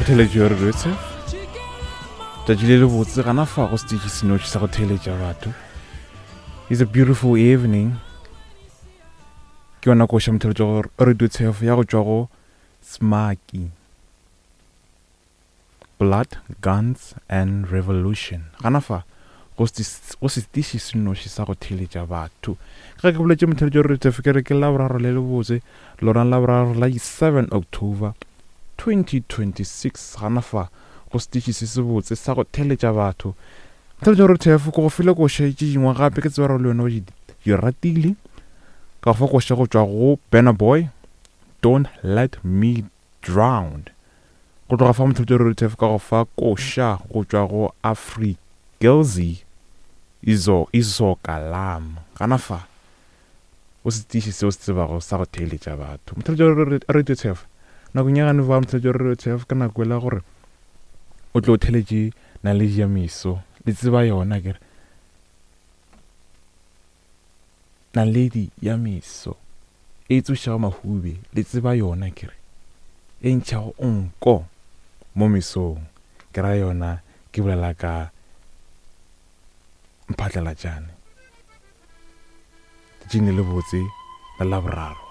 Motheletši wa Radio Tshef. Tšatši le lebotse gana fa go stage senoši sa go theeletša batho. It's a beautiful evening. Ke yona koša motheletši wa Radio Tshef ya go tšwa go Smaki. Blood, Guns and Revolution. Gana fa go setiši se nnoši sa go theeletša batho. Ka ge ke boletše motheeletši wa Radio Tshef ke re ke Laboraro le lebotse, lona Laboraro la di 7 October 2026. Gana fa go setiši se sebotse sa go theeletša batho. Motheeletši wa Radio Tshef ke go file koša tše dingwe gape ke tseba gore le wena o di ratile. Ka go fa koša go tšwa go Burna Boy, Don't Let Me Drown. Go tloga fa motheletši Rutef ka go fa koša go tšwa go Afrikelzi Izo Izoka Lam. Gana fa o se tiiše seo se tsebago sa go theeletša batho. Motheletši Rutef nakong ya gane ba motheletši Rutef ka nako ela gore o tlo theletše naledi ya meso le tseba yona kere Naledi ya meso e tsošago mahube, le tseba yona, ke re, e ntšhago nko mo mesong, ke ra yona, ke bolela ka Mphatlalatšane. Letšatšing le lebotse la Laboraro.